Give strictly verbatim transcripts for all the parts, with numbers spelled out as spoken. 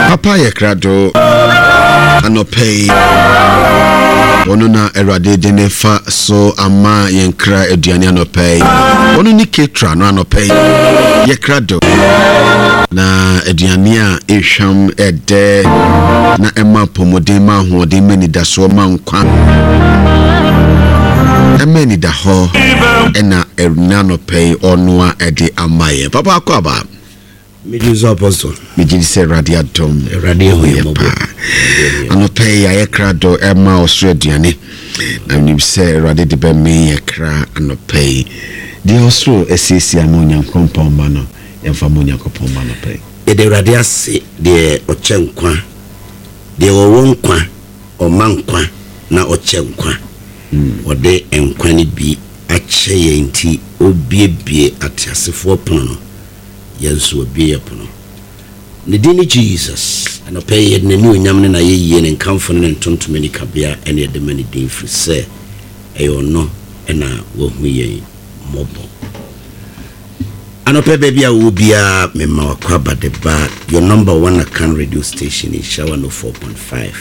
Papa yɛ krado anɔpɛ yi. Ɔno na Awurade de ne fa so ama yɛn kra aduane anɔpɛ yi. Ɔno ne ketra no anɔpɛ yi. Yɛ krado na aduane a ɛhwam, ɛdɛ na ɛma apɔmuden, ma ahoɔden, ma anidasoɔ, ma nkwa, ɛma anida hɔ, ɛna ɛna anɔpɛ yi ɔnoa ɛde ama yɛn. Papa, akɔ aba. Megye so, Apostle. Megye di sɛ Awurade adom. Awurade ahu yɛn yɛ mmɔbɔ. Paa, anɔpɛ yi ayɛ krado ɛma ɔsoro aduane, na menim sɛ Awurade de bɛme yɛ kra anɔpɛ yi. Deɛ ɔsoro asiesie ama Onyankopɔn ma no, yɛmfa ma Onyankopɔn ma anɔpɛ yi. Yɛde Awurade ase, deɛ ɔkyɛ nkwa, deɛ ɔwɔ nkwa, ɔma nkwa na ɔkyɛ nkwa. Ɔde nkwa no bi akyɛ yɛn, nti ɔbiebie ateasefoɔ pono no, yɛn nso ɔbie yɛ pono. Ne din ne Jesus. Anɔpɛ yi yɛde n'ani onyam ne n'ayɛyie ne nkamfo ne ne ntontom ne kabea ɛne yɛde ma ne din, firi sɛ ɛyɛ ɔno ɛna wahu yɛn mmɔbɔ. Anɔpɛ, baabi a wowɔ biara, mema wakɔ aba de ba your number one Akan radio station, Nhyira one oh four point five.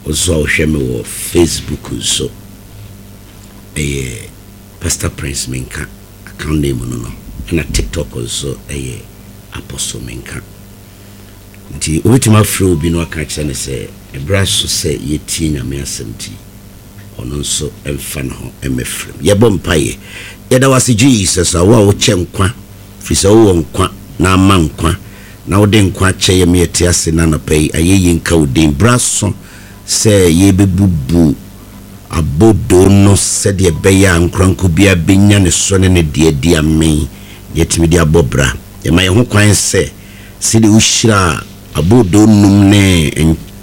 Wo nso a wohwɛ me wɔ Facebook nso, ɛyɛ Pastor Prince Menka account name no no ɛna TikTok nso ɛyɛ Apostle Menka. Nti wobɛtumi afrɛ obi no aka kyerɛ no sɛ ɛberɛ aso sɛ yɛtie Nyame asɛm, nti ɔno nso ɛmfa ne ho ɛmɛfrɛm. Yɛbɔ mpayɛ. Yɛda wase, Jesus, a wo a wokyɛ nkwa, firi sɛ wowɔ nkwa na ama nkwa na wode nkwa akyɛ yɛ ma yɛte ase. No anɔpa yi, ayɛyie nka wo din. Berɛ aso sɛ yɛbɛbubu abodoo no sɛdeɛ ɛbɛyɛ a nkoranko biara bɛnya ne so ne ne deɛ di amen na yɛtumi de abɔ bra. Yɛma yɛn ho kwan sɛ sɛdeɛ wohyira abodoo num ne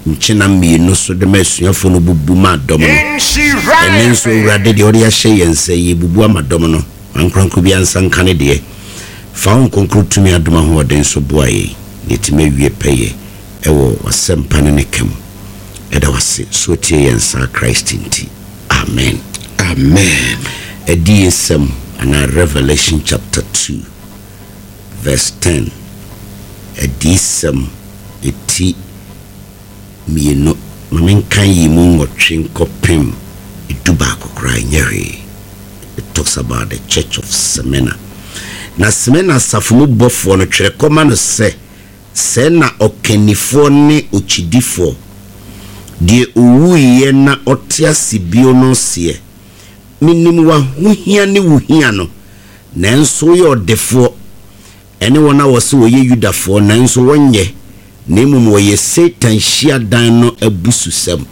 nkyena mmienu so de ma asuafoɔ no bubu ma dɔm no, ɛnɛ nso, Awurade, deɛ ɔde ahyɛ yɛn sɛ yɛbubu ama dɔm no, ankoranko bi ansa nka ne deɛ. Fa wo nkonkro tumi adom ahoɔden so boa yɛn na yɛtumi awie pɛyɛ ɛwɔ w'asɛmpa no ne ka mu. Ɛda wase so tie yɛn saa Christ nti, amen. Amen. Adiyisɛm anaa Revelation chapter two verse ten. Adiyisɛm ɛti mmienu, ma menka yi mu nwɔtwe nkɔpem edu baako koraa nyɛ hwee. It talks about the church of Smyrna. Na Smyrna asafo mu bɔfoɔ no, twerɛ kɔma no sɛ, sɛ na ɔkannifoɔ ne okyidifoɔ, deɛ owuiɛ na ɔte ase bio no seɛ, menim w'ahohia ne wo hia no, nanso woyɛ ɔdefoɔ, ɛne wɔn a wɔsɛ wɔyɛ Yudafoɔ nanso wɔnyɛ, na mmom wɔyɛ Satan hyiadan no abususɛm.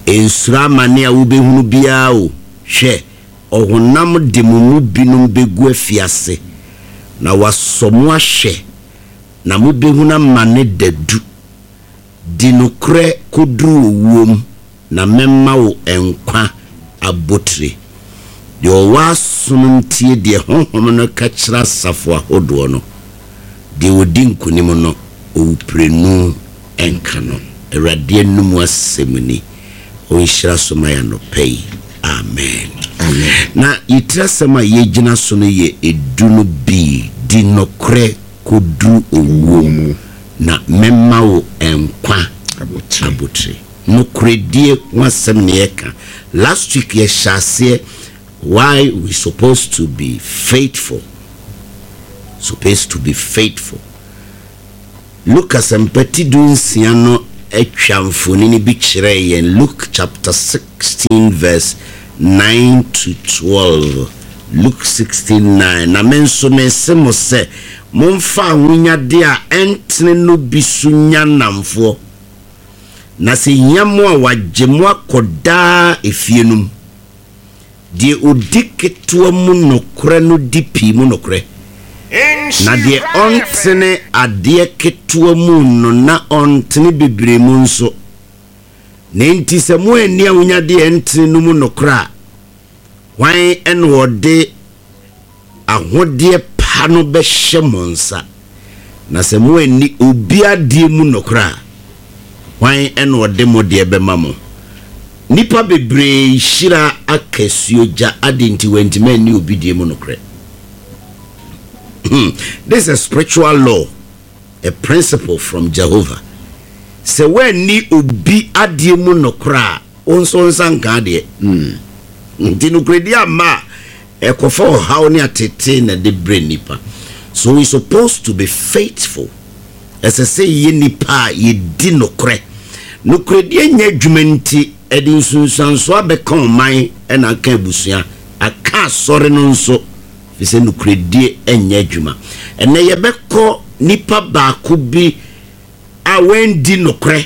Nsuro amane a wobɛhunu biara o. Hwɛ, ɔhonam de mo mu binom bɛgu afiase na wasɔ mo ahwɛ, na mobɛhunu amane dadu. Di nokorɛ kɔduru owuom, na mɛma wo nkwa abotire. Deɛ ɔwɔ aso no ntie deɛ Honhom no ka kyerɛ asafo ahodoɔ no. Deɛ ɔdi nkonim no, owuprenu ɛnka no. Awurade anum asɛm ni. Ɔnhyira so ma yɛ anɔpa yi. Amen. Amen. Na yɛtiri asɛm a yɛgyina so no yɛ edu no bi, di nokorɛ kɔduru owuo mu, na mɛma wo nkwa abotire. Abotire. Nokorɛdie ho asɛm ne yɛka. Last week yɛhyɛ aseɛ why we supposed to be faithful, supposed to be faithful. Luke Asɛmpa ti du nsia no atwa mfonini bi kyerɛ yɛn. Luke chapter sixteen verse nine to twelve. Luke sixteen nine. Na me nso mese mo sɛ, momfa ahonyadeɛ a ɛntene no bi so nya nnamfoɔ, na sɛ hia mo a, wagye mo akɔ daa efie no mu. Deɛ ɔdi ketewa mu nokorɛ no di pii mu nokorɛ, na deɛ ɔntene adeɛ ketewa mu no na ɔntene bebree mu nso. Na enti sɛ mo anni ahonyadeɛ ɛntene no mu nokorɛ a, hwan ɛna ɔde ahodeɛ pa no bɛhyɛ mo nsa? Na sɛ mo anni obi adeɛ mu nokorɛ a, hwan ɛna ɔde mo deɛ bɛma mo? Nipa bebree hyira akasuo gya ade nti wɔntumi anni obi deɛ mu nokorɛ. Hmm. This is a spiritual law. A principle from Jehovah. Sɛ woanni obi adeɛ mu nokorɛ a, wo nso wo nsa nka adeɛ. Nti nokorɛdie amma a, ɛkɔfa ɔhaw ne atetee na ɛde brɛ nnipa. So we supposed to be faithful. Ɛsɛ sɛ yɛyɛ nnipa a yɛdi nokorɛ. Nokorɛdie nyɛ adwuma nti, ɛde nsunsuansoɔ abɛka ɔman na aka abusua, aka asɔre no nso, ɛfiri sɛ nokorɛdie nyɛ adwuma. Ɛnnɛ yɛbɛkɔ nipa baako bi a wandi nokorɛ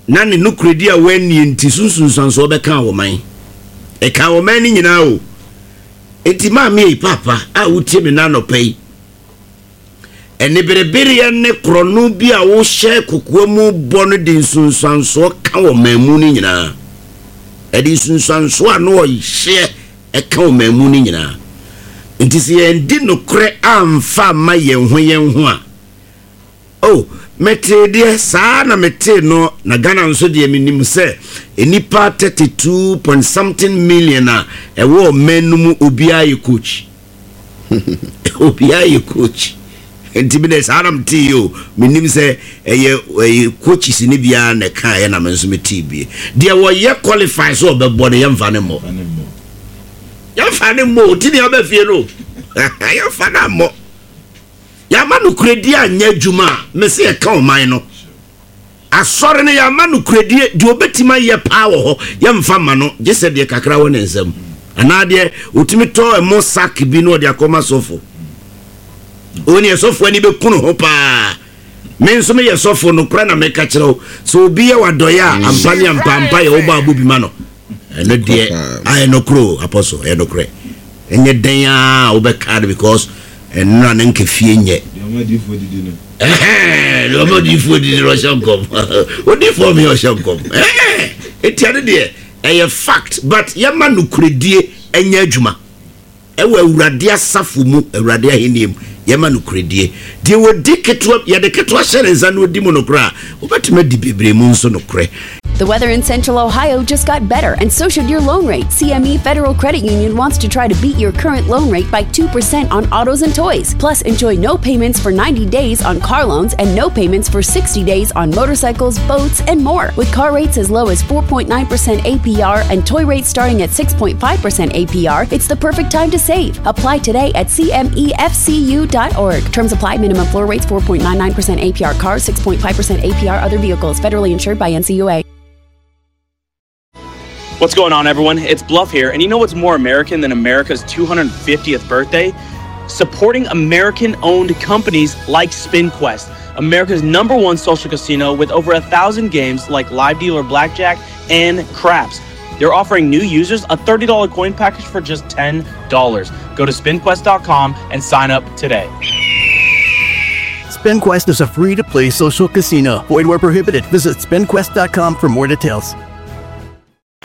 na ne nokorɛdie a wannie nti so nsunsuansoɔ bɛkaa ɔman. Ɛkaa ɔman no nyinaa o. Enti maame ei, paapa a wotie me nnɛ anɔpa yi, Aniberebereɛ ne korɔno bi a wohyɛ kokoa mu bɔ no de nsunsuansoɔ ka ɔman mu no nyinaa. Ɛde nsunsuansoɔ a na ɔhyeɛ ka ɔman mu no nyinaa. Nti sɛ yɛndi nokorɛ amfa amma yɛn ho yɛn ho a, oh, metee deɛ, saa na metee no, na Ghana nso deɛ menim sɛ nnipa thirty two point something million a ɛwɔ ɔman no mu obiara yɛ coach. Obiara yɛ coach nti mi de saa na mete yi o, menim sɛ ɛyɛ ɛyɛ coaches ne biara na ɛka ɛyɛ na me nso mete bie. Deɛ wɔyɛ qualify sɛ ɔbɛbɔ no, yɛmfa ne mmɔ, yɛmfa ne mmɔ o, ti ne aba fie no, yɛmfa no ammɔ. Yɛama nokorɛdie anyɛ adwuma a, mese yɛka ɔman no. Asɔre no, yɛama nokorɛdie, deɛ ɔbɛtumi ayɛ paa wɔ hɔ, yɛmfa mma no, gye sɛ deɛ kakra wɔ ne nsam, anaa deɛ ɔtumi tɔ ɛmo sack bi na ɔde akɔma sɔfo. Ɔwɔ neɛ sɔfo ani bɛku ne ho paa. Me nso meyɛ sɔfo, nokorɛ na meka kyerɛ wo, sɛ obi yɛ w'adɔeɛ a, ampa ne ampa ampa yɛ wobɔ abɔ bi ma no. Ɛno deɛ ayɛ nokorɛ o, Apostle, ɛyɛ nokorɛ. Ɛnyɛ dɛn ara a wobɛka no because ɛnora na nka fie nyɛ. Deɛ ɔma adiyifoɔ didi no. Ɛhɛn, deɛ ɔma adiyifoɔ didi no ɔhyɛ nkɔm. Odiyifoɔ mi ɔhyɛ nkɔm. Ɛhɛn, eti ɛno deɛ ɛyɛ fact, but yɛma nokorɛdie ɛnyɛ adwuma. Ɛwɔ Awurade asafo mu, Awurade ahennie mu, yɛma nokorɛdie. Deɛ ɔdi ketewa, yɛde ketewa hyɛ ne nsa na ɔdi mu nokorɛ a, wobɛtumi adi bebree mu nso nokorɛ. The weather in Central Ohio just got better, and so should your loan rate. C M E Federal Credit Union wants to try to beat your current loan rate by two percent on autos and toys. Plus, enjoy no payments for ninety days on car loans and no payments for sixty days on motorcycles, boats, and more. With car rates as low as four point nine percent A P R and toy rates starting at six point five percent A P R, it's the perfect time to save. Apply today at C M E F C U dot org. Terms apply. Minimum floor rates four point nine nine percent A P R cars, six point five percent A P R other vehicles. Federally insured by N C U A. What's going on, everyone? It's Bluff here, and you know what's more American than America's two hundred fiftieth birthday? Supporting American owned companies like SpinQuest, America's number one social casino with over a thousand games like Live Dealer Blackjack and Craps. They're offering new users a thirty dollar coin package for just ten dollars. Go to spinquest dot com and sign up today. SpinQuest is a free to play social casino. Void where prohibited. Visit spinquest dot com for more details.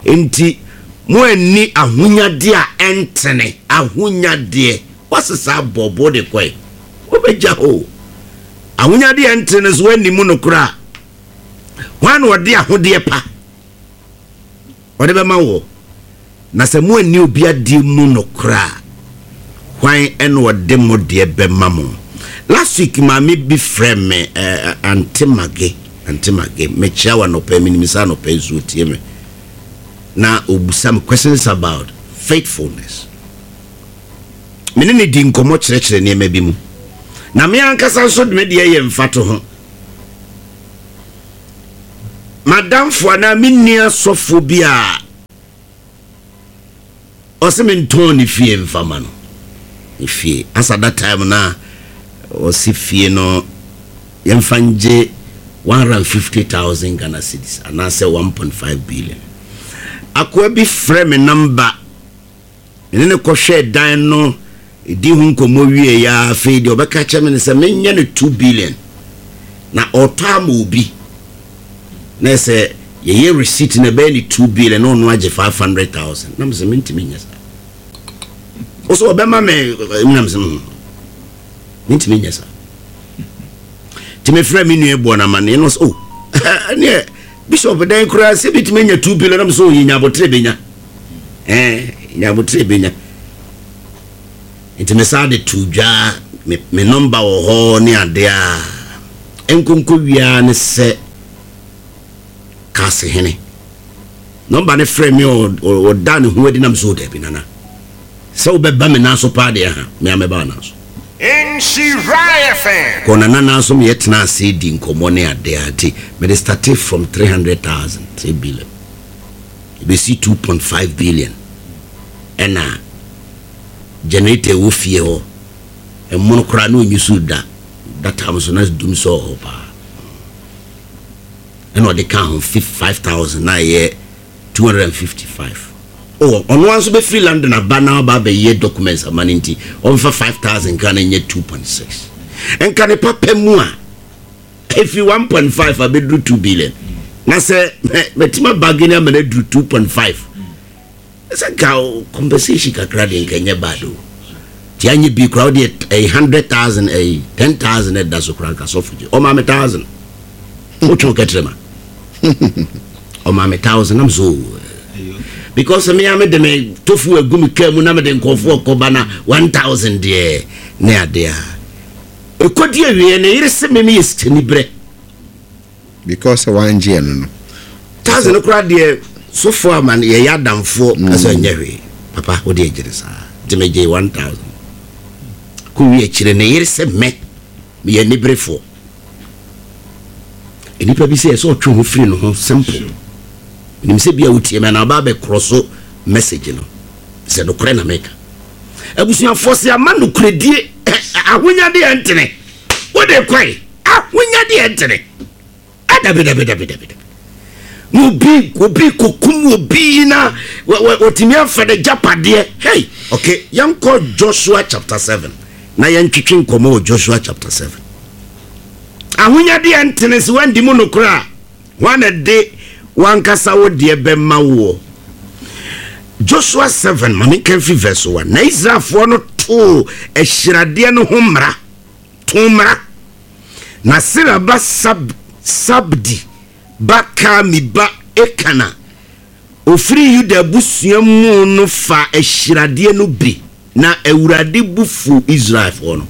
Enti moanni ahonyadeɛ a ɛntene, ahonyadeɛ, woasesa abɔ bo de kɔe, wobɛgya hɔ o. Ahonyadeɛ a ɛntene so woanni mu nokorɛ a, hwan na ɔde ahodeɛ pa ɔde bɛma wɔ? Na sɛ moanni obi adeɛ mu nokorɛ a, hwan ɛna ɔde mo deɛ bɛma mo? Last week maame bi frɛ me, eh, Auntie Mage, Auntie Mage, mekyia wɔ anɔpa, menim sɛ anɔpa nsuo tie me, na obusa me questions about faithfulness. Me ne ne di nkɔmmɔ kyerɛkyerɛ nneɛma bi mu, na me ankasa nso de me deɛ yɛ mfato ho. Madamfo anaa me nua sɔfo bi a ɔsɛ mentɔn ne fie mfama no, ne fie asa that time na ɔsi fie no yɛmfa ngye one hundred and fifty thousand Ghana cedis anaasɛ one point five billion. Akoa bi frɛ me number, mene ne kɔhwɛ dan no, ɛdi ho nkɔmmɔ wie ya. Afei deɛ ɔbɛka kyerɛ me ne sɛ menyɛ no two billion na ɔtɔ ama obi, na sɛ yɛyɛ receipt na ɛbɛyɛ ne two billion na ɔno agye five hundred thousand. Na mesɛ mentumi nyɛ saa. Wo sɛ ɔbɛma me nam sɛ mm, mentumi nyɛ saa. Nti mefrɛ me nua bɔ no amanneɛ no sɛ, oh, ɛneɛ Bishop dɛn koraa sɛ bitumi anya two billion? Nam sɛ ɔyɛ nyabotere bɛnya, nyabotere bɛnya. Nti me saa de to dwa, me me number wɔ hɔ ne adeɛ a Nkonko wiara ne sɛ kaase hene nɔmba ne frɛ me, ɔda ne ho adi nam so. Dabi, Nana, sɛ wobɛba me nan so paa deɛ, ha mea mɛba wo nan so. Nhyira F M. Kɔ nana nan so, meyɛtena ase di nkɔmmɔ ne adeɛ a, nti mede started from three hundred thousand, three billion, ɛbɛsi two point five billion. Ɛna generator ɛwɔ fie hɔ ɛmono koraa na ɔnyi so da data so na dum sɛ ɔhɔ paa. Ɛna ɔde ka ho five thousand na ɛyɛ two hundred and fifty five. Oh, ɔno nso bɛfiri London aba na ɔba abɛyɛ documents ama no, nti ɔmfa five thousand ka na nyɛ two point six. Nka ne papa mu a ɛfiri one point five abɛduru two billion, na sɛ mɛtuma bargain ama no aduru two point five, sɛ nka compensation kakra deɛ, nka nyɛ bad o. Nti anyɛ bi koraa, wode ɛyɛ hundred thousand, ɛyɛ ten thousand ɛda so koraa, nka sɔfo gye ɔma me thousand, wotwe kɛtrɛ ma ɔma me thousand nam so, because me a mede me tofu agu me kaa mu na mede nkɔfoɔ kɔba na one thousand deɛ ne adeɛ a ɛkɔdi awieɛ ne yere sɛ me meyɛ sikani berɛ. Because sɛ wangye ɛno no. Thousand koraa deɛ, sɔfoɔ ama no, yɛyɛ adamfoɔ ɛsɛ nyɛ hwee. Papa, wode agyere saa nti megye one thousand kɔwie akyire ne yere sɛ mɛ meyɛ niberefoɔ. Nnipa bi sɛ ɛsɛ ɔtwe ho firi no ho. Simple. Nim sɛ bia wotie me anaa ɔba bɛkorɔ so message no sɛ nokorɛ na meka. Abusuafoɔ, sɛ ama nokorɛdie, ahonyadeɛ ntene wode kɔe, ahonyadeɛ ntene. Adabidabidabidabi na obi obi kokum obi na wɔtumi afa ne gyapadeɛ. Hey, okay, yɛnkɔ Joshua chapter seven na yɛntwetwe nkɔmmɔ wɔ Joshua chapter seven. Ahonyadeɛ ntene, sɛ woandi mu nokorɛ a, hwan na de wankasa wo deɛ bɛma woɔ? Joshua seven, ma menka mfi verse one. Na Israelfoɔ no too ahyiradeɛ no ho mmara, too mmara, na Sera ba Sab, Sabdi ba Karmi ba Ekana ofiri Yuda abusua mu no fa ahyiradeɛ no bi, na Awurade bu fu Israelfoɔ no.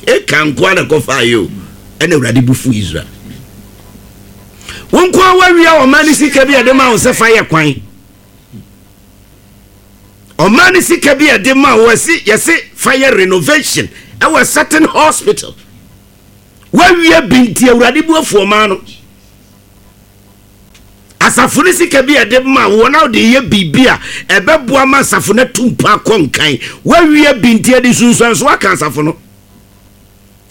Eka nkoa na kɔfa yi o, ɛna Awurade bu fu Israel. Wɔn nkoa wawia ɔman ne sika bi a ɛde ma wo sɛ fa yɛ kwan, ɔman ne sika bi a ɛde ma wo ɛsi yɛsi fa yɛ renovation ɛwɔ certain hospital, wawia bi nti Awurade bu afu ɔman no. Asafo no sika bi a ɛde ma wɔn a wɔde yɛ biribi a ɛbɛboa ma asafo no atu mpa akɔ nkan, wawie bi nti ɛde sunsuanso aka asafo no.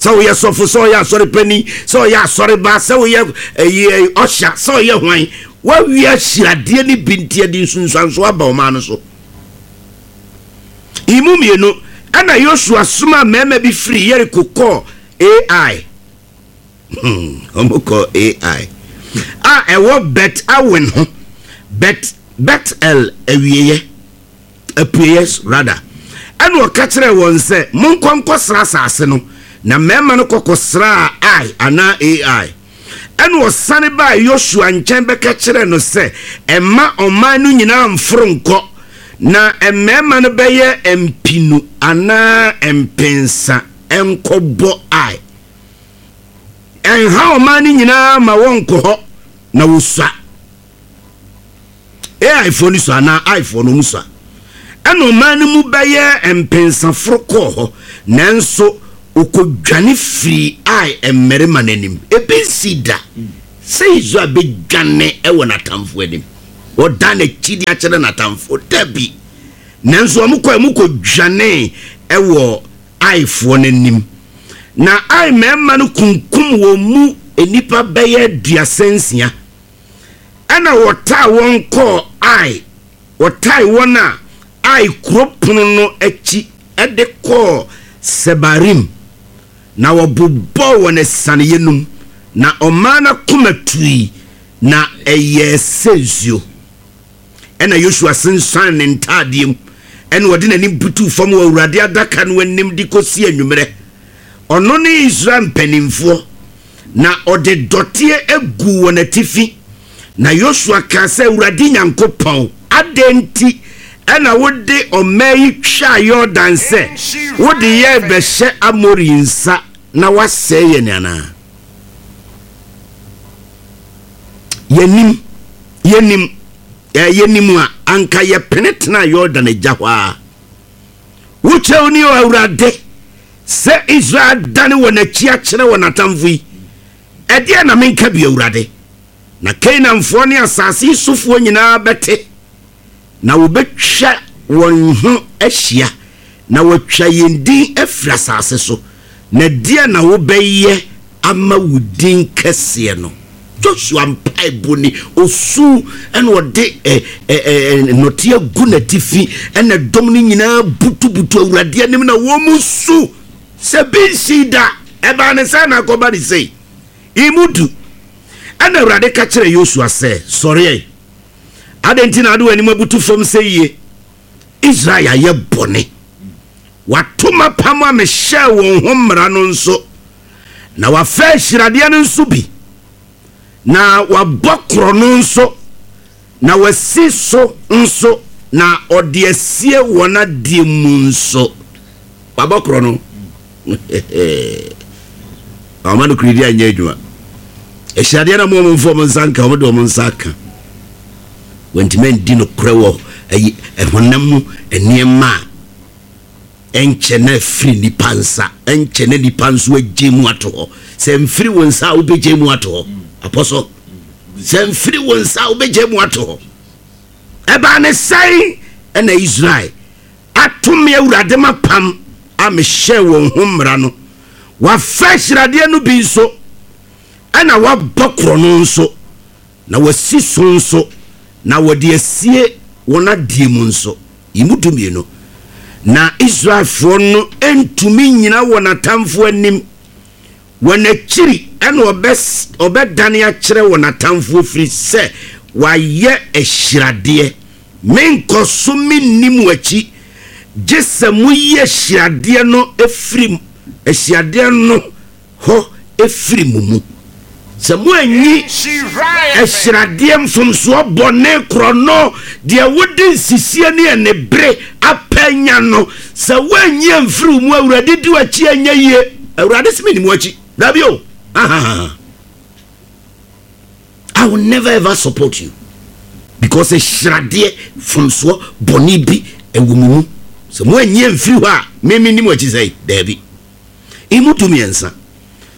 Sɛ woyɛ sɔfo, sɛ ɔyɛ asɔre panyin, sɛ ɔyɛ asɔre ba, sɛ woyɛ ɛyi ɔhyɛ, sɛ ɔyɛ hwan, wawie ahyiradeɛ no bi nti ɛde nsunsuanso aba ɔman no so. Imu mmienu ɛna Yosua soma mmarima bi firi Yeriko kɔɔ Ai. Ɔmo kɔ Ai a ɛwɔ Bet Awen ho, Bet Bet El awieɛ, apueɛ rada. Ɛna ɔka kyerɛ wɔn sɛ, "Monkɔ nkɔsra asase no." Na mmarima no kɔkɔsraa Ai anaa Ai. Ɛna ɔsane baa Yosua nkyɛn bɛka kyerɛ no sɛ, "Ɛma ɔman no nyinaa mforo nkɔ, na mmarima no bɛyɛ mpinu anaa mpensa nkɔbɔ Ai. Ɛnha ɔman no nyinaa ma wɔnkɔ hɔ na wɔsua." Aifoɔ no sua anaa Aifoɔ no mu sua. Ɛna ɔman no mu bɛyɛ mpensaforo kɔɔ hɔ, nanso ɔkɔdwane firi Ai mmarima no anim. Ebi nsi da sɛ Israel bɛdwane ɛwɔ n'atamfo anim, ɔda n'akyi de akyerɛ n'atamfo dabi. Nanso wɔn kɔ mu kɔdwane ɛwɔ Aifoɔ no anim, na Ai mmarima no kunkum wɔn mu nnipa bɛyɛ aduasa nsia. Ɛna wɔtaa wɔn kɔɔ Ai, wɔtae wɔn a Ai kuro pono no akyi ɛde kɔɔ Sebarim, na wɔbobɔɔ wɔn asianeɛ num, na ɔman no akoma tui na ɛyɛɛ sɛ nsuo. Ɛna Yosua sensan ne ntaadeɛ mu, ɛna ɔde n'anim butuu fam wɔ Awurade adaka no anim de kɔsi anwummerɛ, ɔno ne Israel mpanimfoɔ, na ɔde dɔteɛ agu wɔn atifi. Na Yosua kaa sɛ, "Awurade Nyankopɔn, adɛn nti ɛna wode ɔman yi twaa Yordan sɛ wode yɛn bɛhyɛ Amori nsa na wasɛe yɛn anaa?" Yɛnim, yɛnim, yɛnim a anka yɛpene tena Yordan agya hɔ a. Wo kyɛw ni o Awurade, sɛ Israel dane wɔn akyi akyerɛ wɔn atamfo yi. Ɛdeɛ na menka bi Awurade. Na Kanaanfoɔ ne asase yi sofoɔ nyinaa bɛte, na wɔbɛtwa wɔn ho ahyia, na wɔatwa yɛn din afiri asase so. Na deɛ na wobɛyɛ ama wo din kɛseɛ no. Joshua mpaebɔ ni, osu ɛna ɔde ɛ ɛ ɛ nnɔteɛ gu n'atifi, ɛna dɔm no nyinaa butubutu Awurade anim na wɔn mu su sɛ bi nsi da. Ɛbaa ne sɛ na akɔba ne sei emu du. Ɛna Awurade ka kyerɛ Yosua sɛ, sɔre ɛ, adɛn nti na ade w'anim abutu fam sɛ yie? Israel ayɛ bɔne, wato m'apam a mehyɛɛ wɔn ho mmara no nso, na wafa ahyiradeɛ no nso bi, na wabɔ korɔ no nso, na wasi so nso, na ɔde asie wɔn adeɛ mu nso. Wabɔ korɔ no. Ɔma no kuridi anyɛ adwuma. Ahyiradeɛ na mo ɔmo mfa ɔmo nsa nka, ɔmo de ɔmo nsa aka. Wɔntumi andi nokorɛ wɔ ayi ɛhonam mu nneɛma a ɛnkyɛ na afiri nipa nsa, ɛnkyɛ na nipa nso agye mu ato hɔ. Sɛ mfiri wo nsa a wobɛgye mu ato hɔ. Apɔsɔ, sɛ mfiri wo nsa a wobɛgye mu ato hɔ. Ɛbaa ne sɛn ɛna Israel ato me Awurade mapam a mehyɛɛ wɔn ho mmara no. Wafa ahyiradeɛ no bi nso, ɛna wabɔ korɔ no nso, na wasi so nso, na wɔde asie wɔn adeɛ mu nso. Yi mu dumienu. Na Israelfoɔ no ntumi nyina wɔn atamfoɔ anim. Wɔn akyiri ɛna ɔbɛdane akyerɛ wɔn atamfoɔ firi sɛ wayɛ ahyiradeɛ. Menkɔ so menni mo akyi, gye sɛ moyi ahyiradeɛ no efiri ahyiradeɛ no hɔ efiri mo mu. Sɛ moanyi ahyiradeɛ mfomsoɔ bɔne korɔ no, deɛ wode nsisie ne anibere apɛ no, sɛ woanyi amfiri wo mu, Awurade di w'akyi anyɛ yie. Awurade sɛ menni mo akyi. Dabi o. I will never ever support you. Because ahyiradeɛ mfomsoɔ bɔne bi ɛwɔ mo mu. Sɛ moanyi amfiri hɔ a, me menni mo akyi sɛe. Dabi. Emu du mmiɛnsa.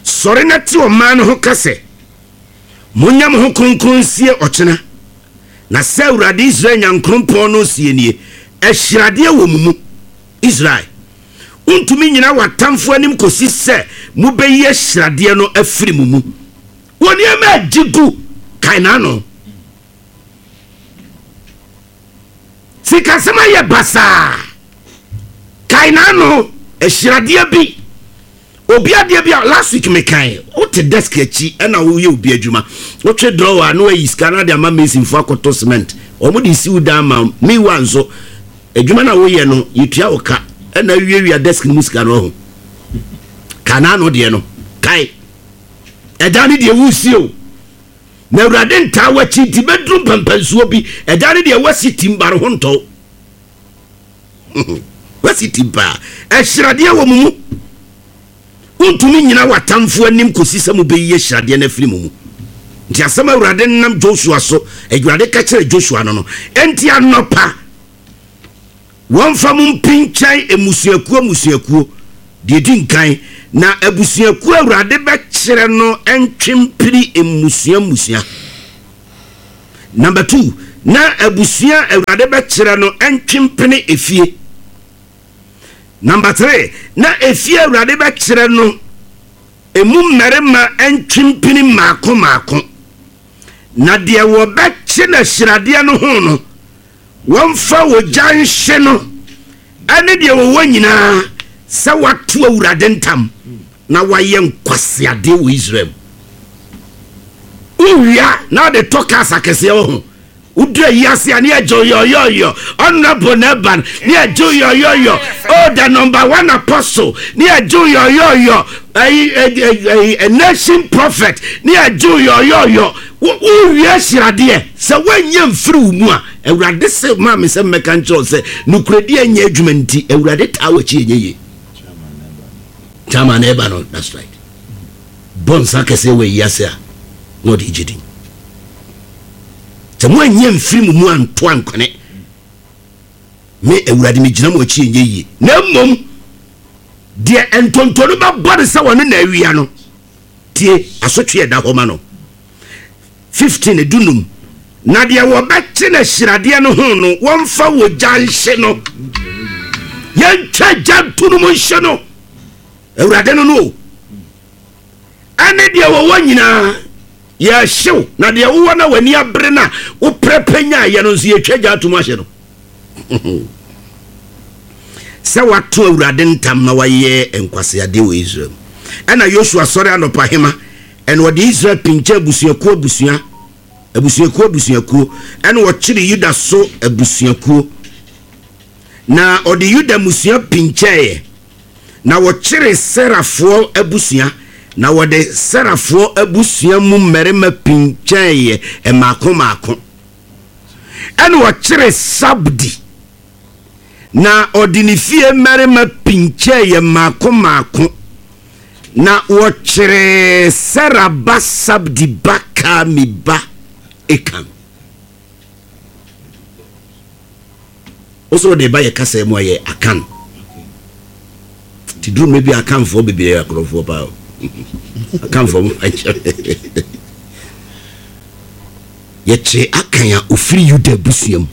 Sɔre na te ɔman no ho ka sɛ, monyɛ mo ho kronkron nsie ɔkyena. Na sɛ Awurade Israel Nyankopɔn no sie nie, ahyiradeɛ wɔ mo mu. Israel, wontumi nyina w'atamfo anim kɔsi sɛ mobɛyi ahyiradeɛ no afiri mo mu. Wɔ nneɛma agye gu kae n'ano. Sikasɛm ayɛ basaa, kae n'ano. Ahyiradeɛ bi, obi adeɛ bi a last week mekan, wote desk akyi ɛna woyɛ obi adwuma, wotwe drawer na wayi sika na de ama masonfoɔ akɔtɔ cement, wɔn de si wo dan ma meanwhile nso adwuma na woyɛ no yɛtua wo ka, ɛna awiawia desk no mu sika no ho. Ka n'ano deɛ no kae, ɛdan ne deɛ wusie o, na Awurade ntaa w'akyi nti bɛduru mpampansuo bi, ɛdan ne deɛ wasi tim bare ho ntɔw. Wasi tim paa. Ahyiradeɛ wɔ mo mu. Wontumi nyina w'atamfo anim kɔsi sɛ mobɛyi ahyiradeɛ no afiri mo mu. Nti asɛm Awurade nam Joshua so, Awurade ka kyerɛ Joshua no no, enti anɔpa wɔmfa mo mpinkyɛn mmusuakuo mmusuakuo deɛ di nkan, na abusuakuo Awurade bɛkyerɛ no ntwempiri mmusua mmusua. Number two, na abusua Awurade bɛkyerɛ no ntwempene efie. Number three, na efie Awurade bɛkyerɛ no emu mmarima ntwempene mmaako mmaako. Na deɛ wɔbɛkye na ahyiradeɛ no ho no, wɔmfa ogya nhye no, ɛne deɛ wɔwɔ nyinaa, sɛ wato Awurade ntam na wayɛ nkwaseadeɛ wɔ Israel mu. Wowia na ɔde tɔ cars akɛseɛ wɔ ho. Wodu ayi ase a ne yɛgye yɔyɔyɔ, honorable na ɛba no ne yɛgye yɔyɔyɔ, oh the number one apostle ne yɛgye yɔyɔyɔ, ɛyi ɛyi ɛyi nation prophet ne yɛgye yɔyɔyɔ. Wowie ahyiradeɛ sɛ woanyɛ mfiri wo mu a, Awurade se maa me sɛ mmɛka nkyerɛ wo sɛ nokorɛdi anyɛ adwuma nti Awurade taa w'akyi ɛnyɛ yie. Chairman na ɛba no, that's right. Bɔ nsa kɛseɛ wɔ ayi ase a na ɔde gye din. Sɛ moanyɛ mfiri mo mu anto ankwene, me Awurade megyina mo akyi ɛnyɛ yie. Na mmom deɛ ntonto no bɛbɔ no sɛ wɔne na awia no, tie asotwe ɛda hɔ ma no. fifteen dunum, na deɛ wɔbɛkye no ahyiradeɛ no ho no, wɔmfa wɔ gya nhye no. Yɛntwa gya nto no mu nhye no. Awurade no no o. Ɛne deɛ wɔwɔ nyinaa yɛhyew, na deɛ wowɔ na w'ani abere no a woprɛpɛ nyaayɛ no nso yɛtwa gya atom ahye no. Sɛ wato Awurade ntam na wayɛ nkwaseadeɛ wɔ Israel mu. Ɛna Yosua sɔre anɔpa hema, ɛna ɔde Israel pinkyɛ abusuakuo abusua abusuakuo abusuakuo, ɛna ɔkyere Yuda so abusuakuo, na ɔde Yuda mmusua pinkyɛeɛ, na wɔkyere Serafoɔ abusua, na wɔde Serafoɔ abusua mu mmarima pinkyɛeɛ mmaako mmaako, ɛna ɔkyere Sabdi, na ɔde ne fie mmarima pinkyɛeɛ mmaako mmaako, na wɔkyeree Sera ba Sabdi ba Karmi ba Ekan. Wosɛ wɔde ba yɛ kasa mu a yɛ Akan. Nti duru mmerɛ bi Akanfoɔ bebree yɛ akorɔmfoɔ paa o. Akanfoɔ mo akyɛ. Yɛkyeree Akan a ofiri Yuda abusua mu.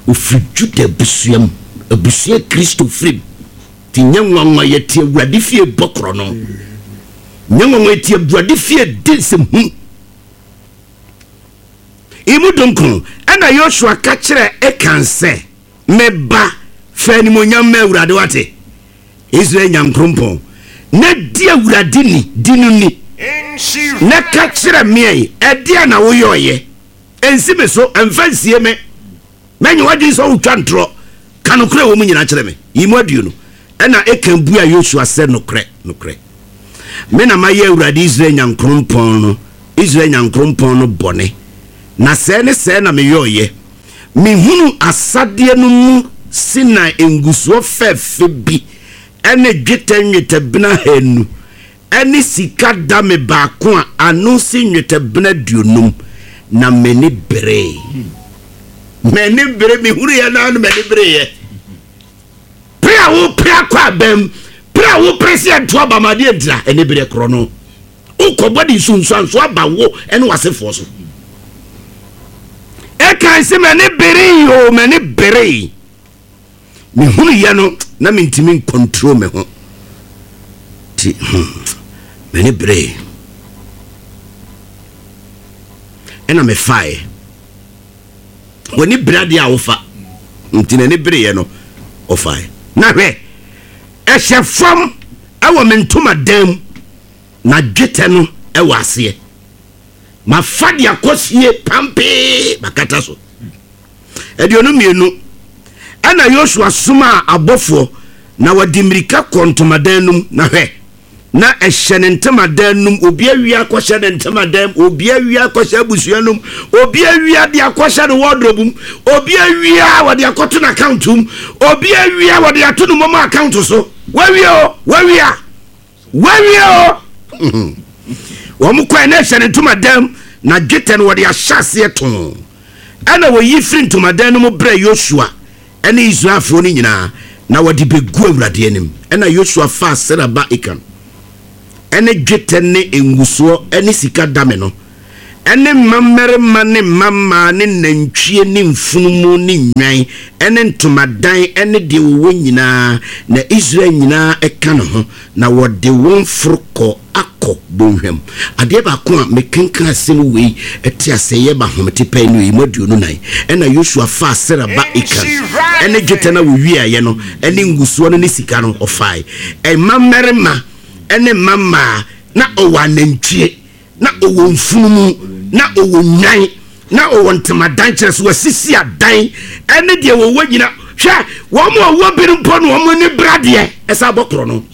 Ofiri Juda abusua mu. Abusua Kristo firi mu. Nti nyɛ nwanwa yɛte Awurade fie bɔ korɔ no. Nyɛ nwanwa yɛte Awurade fie di nsɛmhu. Emu dunkron, ɛna Yosua ka kyerɛɛ Akan sɛ, Me ba, fa animuonyam ma Awurade, wate, Israel Nyankrompɔn, na di Awurade ni, di no ni, na ka kyerɛ me ɛ, ɛdeɛn na woyɔeɛ? Ɛnsi me so, ɛmfa nsie me. Mɛnyɛ w'adwene sɛ wotwa ntorɔ. Ka nokorɛ a ɛwɔ mu nyinaa kyerɛ me. Yi mu aduonu. Ɛnna Akan buaa Yosua sɛ, Nokorɛ, nokorɛ, me na mayɛ Awurade Israel Nyankrompɔn no, Israel Nyankrompɔn no bɔne, na sɛɛ ne sɛɛ na meyɔeɛ. Mehunuu asadeɛ no mu Sinai ngusoɔ fɛfɛ bi ne dwetɛ nnwetɛbena ahanu ne sika dame baako a ano si nnwetɛbena aduonum, na m'ani beree. M'ani bere, mehunuiɛ no ara no m'ani bereeɛ. Pere a wopere akɔ abam, pere a wopere sɛ ɛnto aba ma adeɛ ntira, ɛne berɛ korɔ no. Wokɔbɔ de nsunsuanso aba wo ne w'asefoɔ so. Ɛkan sɛ m'ani beree o, m'ani beree. Mehunuiɛ no na mentumi ncontrol me ho. Nti hmm, m'ani beree. Ɛna mefaeɛ. W'ani bere adeɛ a wofa. Nti n'ani bereeɛ no, ɔfaeɛ. Na hwɛ, ɛhyɛ fam wɔ me ntomadan mu, na dwetɛ no wɔ aseɛ. Mafa de akɔsie pampee, makata so. Aduonu mmienu. Ɛnna Yosua somaa abɔfoɔ, na wɔde mmirika kɔɔ ntomadan no mu, na hwɛ, na ɛhyɛ ne ntamadan no mu, obi awia akɔhyɛ ne ntamadan mu, obi awia akɔhyɛ abusua no mu, obi awia de akɔhyɛ ne wardrobe mu, obi awia wɔde akɔto n'account mu, obi awia wɔde ato ne momo account so. Wawia o, wawia, wawia o. Wɔn kɔɛ na ɛhyɛ ne ntomadan mu, na dwetɛ no wɔde ahyɛ aseɛ too. Ɛnna wɔyi firi ntomadan no mu brɛɛ Yosua ne Israelfoɔ no nyinaa, na wɔde bɛguu Awurade anim. Ɛnna Yosua faa Sera ba Akan ne dwetɛ ne ngusoɔ ne sika dame no, ne mma mmarima ne mma mmaa ne nantwie ne mfunumu ne nnwan ne ntomadan ne deɛ wɔwɔ nyinaa, na Israel nyinaa ka ne ho, na wɔde wɔn foro kɔɔ Akɔ bɔnhwa mu. Adeɛ baako a mekenkan asɛm wei te aseɛ yɛ ma ahomete pɛn no yi mu aduonu nan. Ɛnna Yosua faa Sera ba Akan ne dwetɛ no a wɔwiaeɛ no ne ngusoɔ no ne sika no, ɔfae. Mma mmarima ne mma mmaa, na ɔwɔ anantwie, na ɔwɔ mfunumu, na ɔwɔ nnwan, na ɔwɔ ntamadan, kyerɛ sɛ wasisi adan ne deɛ wɔwɔ nyina. Hwɛ, wɔn a wɔwɔ bi no mpo no wɔn ani bere adeɛ, ɛsɛ abɔ korɔ no.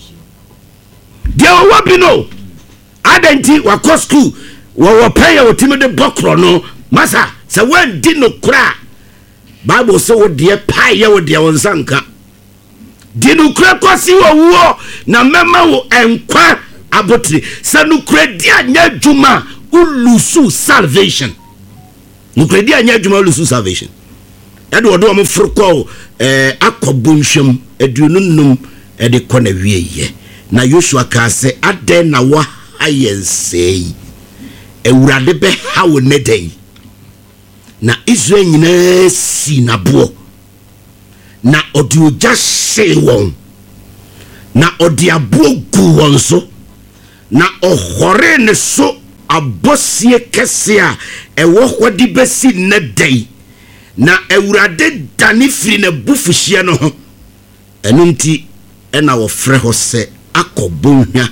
Deɛ ɔwɔ bi no, adɛn nti wakɔ sukuu, wɔwɔ pɛn a wɔtumi de bɔ korɔ no. Masa, sɛ woandi nokorɛ a, Bible sɛ wo deɛ paeyɛ wo deɛ wo nsa nka. Di nokorɛ kɔsi owuo, na mɛma wo nkwa abotire. Sɛ nokorɛdi anyɛ adwuma a, wo lose salvation. Nokorɛdi anyɛ adwuma, lose salvation. Ɛde wɔde wɔn foro kɔ ɛɛ Akɔ bɔnhwɛm aduonu nnum ɛde kɔ na wie yɛ. Na Yosua kaa sɛ, "Adɛn na waha yɛn sɛɛ yi? Awurade bɛha wo ne da yi." Na Israel nyinaa si n'aboɔ, na ɔde ogya hyee wɔn, na ɔde aboɔ gu wɔn so, na ɔhɔree ne so abɔsie kɛse a ɛwɔ hɔ de bɛsi nnɛ da yi. Na Awurade dane firi n'abufuhyeɛ no ho. Ɛno nti ɛna wɔfrɛ hɔ sɛ Akɔ bɔnhwa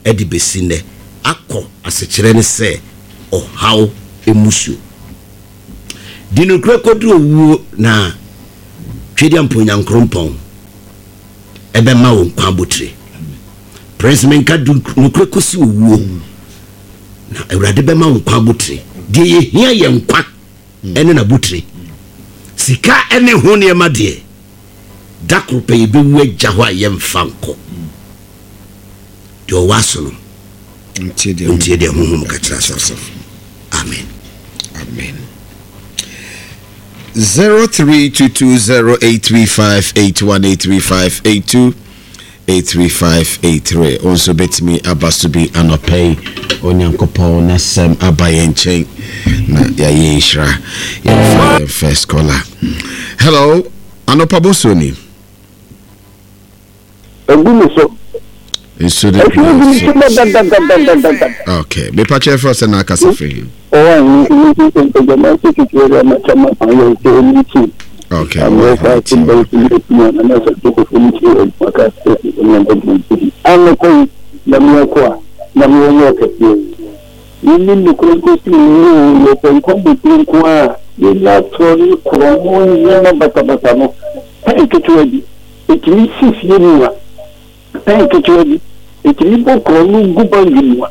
ɛde bɛsi nnɛ. Akɔ asekyerɛ ne sɛ ɔhaw emusuo. Di nokorɛ kɔduru owuo, na Twedeɛ mpo Nyankorompɔn ɛbɛma wo nkwa abotire. Prince, menka du nokorɛ kɔsi owuo, na Awurade bɛma wo nkwa abotire. Deɛ yɛhia yɛ nkwa ɛne n'abotire. Sika ɛne ho nneɛma deɛ, da koro pɛ yɛbɛwu agya hɔ a yɛmfa nkɔ. Deɛ ɔwɔ aso no, ntie deɛ ntie deɛ Honhom ka kyerɛ asafo. Amen. Amen. Zero three two two zero eight three five eight one eight three five eight two eight three five eight three. Nso bɛtumi aba so bi anɔpɛ yi. Onyankopɔn n'asɛm aba yɛn nkyɛn na yɛayɛ nhyira. Yɛmfa yɛn first caller. Hello, anɔpa boso ni. Egu mi so. Nso de Efi egu mi so dadadadadadada. Okay, mepakyɛ fɛ sɛ na akasa firi. Ɔwɔ ayi ní ti mpɛgya ti tutu ɛrɛ ma kyɛn ayɛ sɛ ɛni ti. Okay. Àmì ɛfɛ ati bɛyɛ ti yɛ ti yɛ na ɛsɛ tó kò fún ti yɛ maka sɛ ɛnyɛ ɛdi ti. Anɔkɔ yi nyame ɛkɔ a nyame wɔnyɛ ɔkɛseɛ. Yɛni nukuri nkosi mu yɛ pɛ nkɔm bɛtiri nko a yɛnya atorɔ ne korɔ mo nneɛma basabasa no. Pɛn ketewa bi etumi si fie mu a, pɛn ketewa bi etumi bɔ korɔ no gu bank mu a.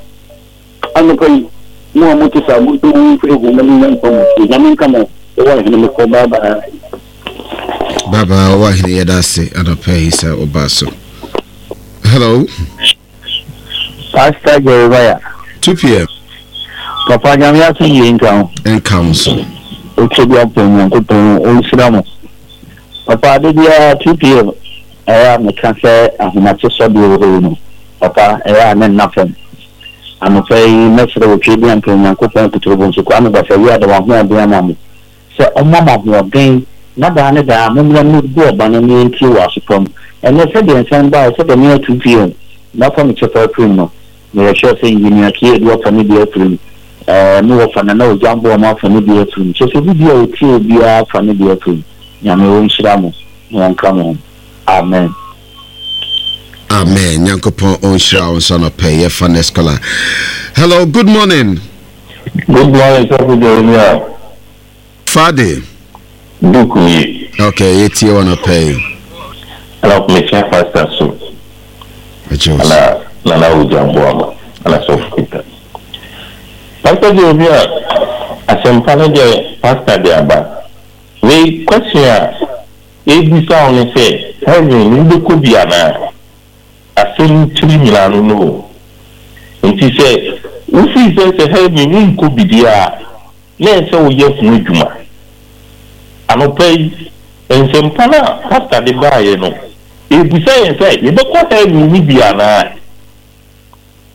Anɔpa yi mo a mote saa, mo nso mo mfiri ho na monya nkwa mo fie. Nyame nka mo. Ɛwɔ ahene mekɔ. Bye bye. Baba, ɔwɔ ahene, yɛda ase anɔpɛ yi sɛ woba so. Hello. Pastor Jeremiah. two p m. Papa, Nyame asomdwe nka ho. Nka wo so. Otwa bi apɔ Nyankopɔn ɔnhyira mo. Papa, ade biara two p m ɛyɛ a meka sɛ ahomakye sɔdeɛ wɔ hɔ yi no, papa, ɛyɛ a ne nna fam. Anɔpa yi mɛsrɛ wɔ bi ampɛ Nyankopɔn kuturobo nso Kwame Basa yi ada wahoɔden ama mo sɛ ɔma mo ahoɔden na daa ne daa mommra mmɛgu ɔba no ne yɛntie wɔ asopam. Ɛnɛ sɛdeɛ nsɛm baeɛ, sɛdeɛ meyɛ two p m mafa me kyɛfa afirim no, meyɛhwɛ sɛ engineer kie de wafa ne deɛ afirim, ɛɛ me wɔfa Nana Ogyambo a afa ne deɛ afirim, kyerɛ sɛ obi bi a otie obiara afa ne deɛ afirim. Nyame wɔnhyira mo na wɔnka mo ho. Amen. Amen. Nyankopɔn ɔnhyira wo nso anɔpɛ. Yɛfa next caller. Hello, good morning. Good morning, Sɔfo Jeremiah. Fade. Duku yi. Okay, yɛtie wɔ anɔpɛ yi. Ɛna mekyia pastor so. Agye wo so. Ana Nana Ogyambo ama. Ana Sɔfo Peter. Pastor Jeremiah, asɛmpa no deɛ pastor de aba. Wei question a ebisa wo ne sɛ, heaven wobɛkɔ bi anaa? Asɛm tiri nyinaa no no o. Nti sɛ wofii sɛ sɛ heaven wonkɔ bi deɛ a, na ɛsɛ woyɛ ho adwuma. Anɔpa yi nsɛmpa no a pastor de baeɛ no, ebisa yɛn sɛ yɛbɛkɔ heaven no bi anaa?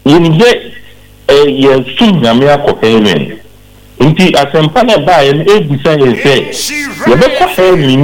Yɛnim sɛ ɛ yɛsom Nyame akɔ heaven, nti asɛmpa no ɛbaeɛ no ebisa yɛn sɛ yɛbɛkɔ heaven.